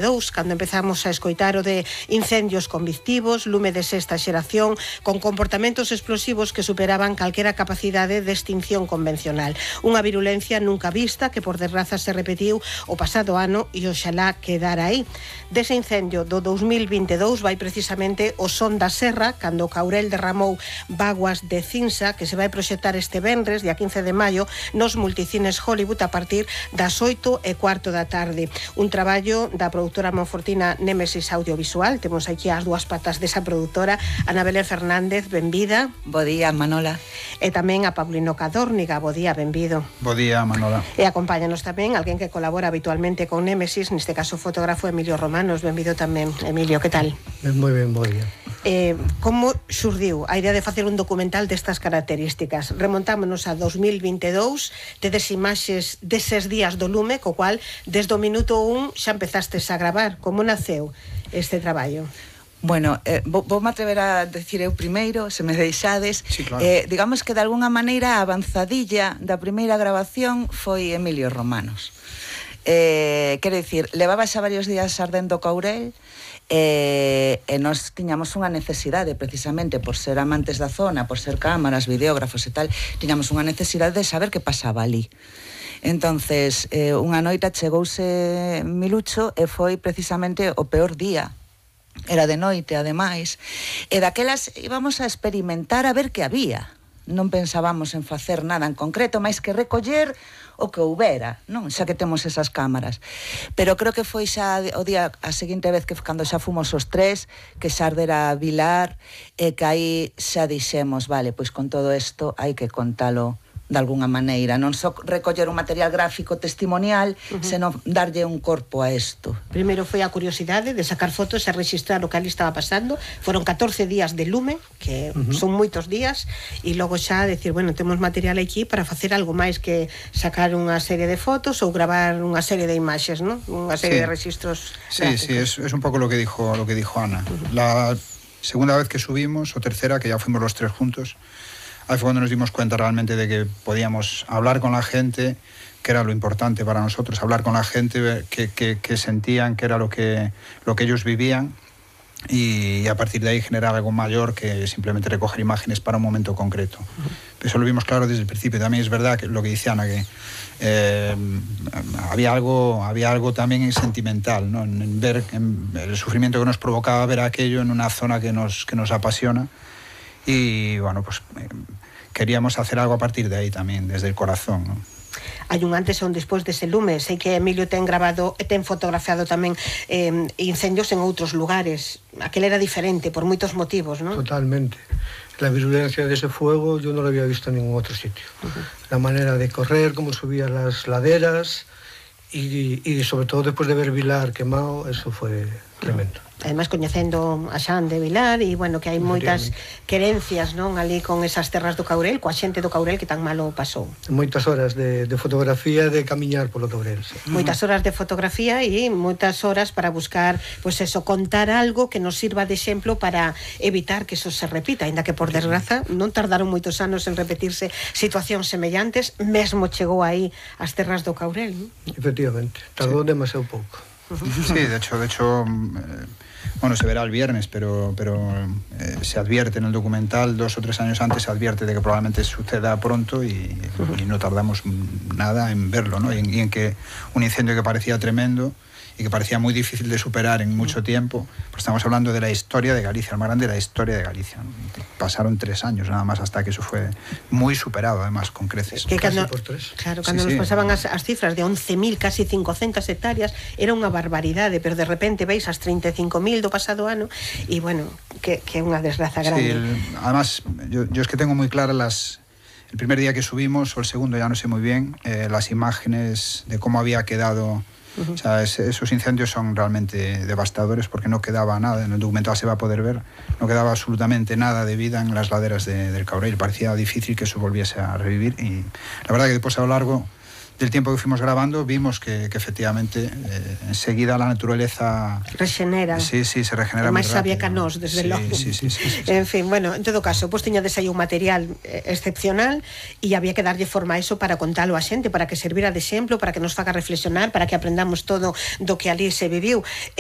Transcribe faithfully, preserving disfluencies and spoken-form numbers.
dous, cando empezamos a escoitar o de incendios convictivos, lume de sexta xeración, con comportamentos explosivos que superaban calquera capacidade de extinción convencional. Unha virulencia nunca vista que por desgraza se repetiu o pasado ano e oxalá quedar aí. Dese incendio do dous mil vinte e dous vai precisamente o son da serra, cando o Caurel derramou vaguas de cinza, que se vai proxectar este venres, día quince de maio, nos multicines Hollywood a partir das oito e cuarto da tarde. Un traballo da produtora monfortina Némesis Audiovisual. Temos aquí as dúas patas desa produtora, Ana Belén Fernández, benvida. Bo día, Manola. E tamén a Paulino Cadórniga, bo día, benvido. Bo día, Manola. E acompáñanos tamén alguén que colabora habitualmente con Némesis, neste caso o fotógrafo Emilio Romanos, benvido tamén. Emilio, que tal? Moi ben, bo día. Eh, como xurdiu a idea de facer un documental destas características? Remontámonos a dous mil vinte e dous, tedes imaxes deses días do lume, co cual desde o minuto un xa empezastes a gravar. Como naceu este traballo? Bueno, eh, vou, vou me atrever a decir eu primeiro, se me deixades. Sí, claro. eh, digamos que de alguna maneira a avanzadilla da primeira grabación foi Emilio Romanos. Eh, quero dicir, levaba xa varios días ardendo o Caurel, e, e nós tiñamos unha necesidade, precisamente por ser amantes da zona, por ser cámaras, videógrafos e tal, tiñamos unha necesidade de saber que pasaba ali. Entonces, eh, unha noite chegouse Milucho e foi precisamente o peor día. Era de noite, ademais, e daquelas íbamos a experimentar a ver que había. Non pensábamos en facer nada en concreto, máis que recoller o que houbera, non? Xa que temos esas cámaras. Pero creo que foi xa o día, a seguinte vez que cando xa fomos os tres, que xa ardera Vilar, e que aí xa dixemos, vale, pois con todo isto hai que contalo de alguna maneira, non só recoller un material gráfico testimonial, uh-huh. senón darlle un corpo a isto. Primeiro foi a curiosidade de sacar fotos e registrar o que ali estaba pasando. Foron catorce días de lume, que uh-huh. son moitos días, e logo xa decir, bueno, temos material aquí para facer algo máis que sacar unha serie de fotos ou gravar unha serie de imaxes, ¿no? Unha serie sí. de registros Sí, gráficos. sí, es, es un poco lo que dijo, lo que dijo Ana. Uh-huh. La segunda vez que subimos, o tercera, que ya fuimos los tres juntos, ahí fue cuando nos dimos cuenta realmente de que podíamos hablar con la gente, que era lo importante para nosotros, hablar con la gente, que, que, que sentían que era lo que, lo que ellos vivían, y, y a partir de ahí generar algo mayor que simplemente recoger imágenes para un momento concreto. Uh-huh. Eso lo vimos claro desde el principio. También es verdad que lo que dice Ana, que eh, había algo, había algo también sentimental, ¿no? En, en ver en el sufrimiento que nos provocaba ver aquello en una zona que nos, que nos apasiona. Y bueno, pues eh, queríamos hacer algo a partir de ahí también, desde el corazón, ¿no? Hai un antes e un despois dese lume. Sei que Emilio ten grabado e ten fotografiado tamén eh, incendios en outros lugares. Aquel era diferente por moitos motivos, ¿no? Totalmente. La virulencia de ese fuego yo no lo había visto en ningún otro sitio. Uh-huh. La manera de correr, cómo subía las laderas y, y sobre todo después de ver Vilar quemado, eso fue tremendo. Ademais, coñecendo a Xan de Vilar, e, bueno, que hai moitas querencias, non, ali con esas terras do Caurel, coa xente do Caurel que tan malo pasou. Moitas horas de, de fotografía, de camiñar polo Caurel. Sí. Moitas horas de fotografía e moitas horas para buscar, pois pues eso, contar algo que nos sirva de exemplo para evitar que eso se repita, ainda que por desgraza non tardaron moitos anos en repetirse situacións semellantes, mesmo chegou aí as terras do Caurel, non? Efectivamente, tardou sí. demasiado pouco. Sí, de hecho, de hecho, eh, bueno, se verá el viernes, pero, pero eh, se advierte en el documental, dos o tres años antes se advierte de que probablemente suceda pronto y, y no tardamos nada en verlo, ¿no? Y en, y en que un incendio que parecía tremendo y que parecía muy difícil de superar en mucho tiempo, pues estamos hablando de la historia de Galicia, el más grande de la historia de Galicia, ¿no? Pasaron tres años nada más hasta que eso fue muy superado, además, con creces. Que cando, por tres. Claro, cando sí, nos sí. pasaban as, as cifras de once mil, casi cincocentas hectáreas, era unha barbaridade, pero de repente veis as treinta e cinco mil do pasado ano, e bueno, que, que é unha desgraza grande. Sí, el, además, yo, yo es que tengo muy claras las... El primer día que subimos, o el segundo, ya no sé muy bien, eh, las imágenes de cómo había quedado... Uh-huh. O sea, es, esos incendios son realmente devastadores porque no quedaba nada, en el documental se va a poder ver, no quedaba absolutamente nada de vida en las laderas de, del Caurel. Parecía difícil que eso volviese a revivir y la verdad que después a lo largo del tiempo que fuimos grabando, vimos que, que efectivamente eh, enseguida la naturaleza rexenera. Sí, sí, se regenera máis moi sabia rápido. que nós, desde sí, logo. Sí, sí, sí, sí, sí. En fin, bueno, en todo caso, pois tiñades aí un material eh, excepcional e había que darlle forma a iso para contalo a xente, para que servira de exemplo, para que nos faga reflexionar, para que aprendamos todo do que ali se viviu.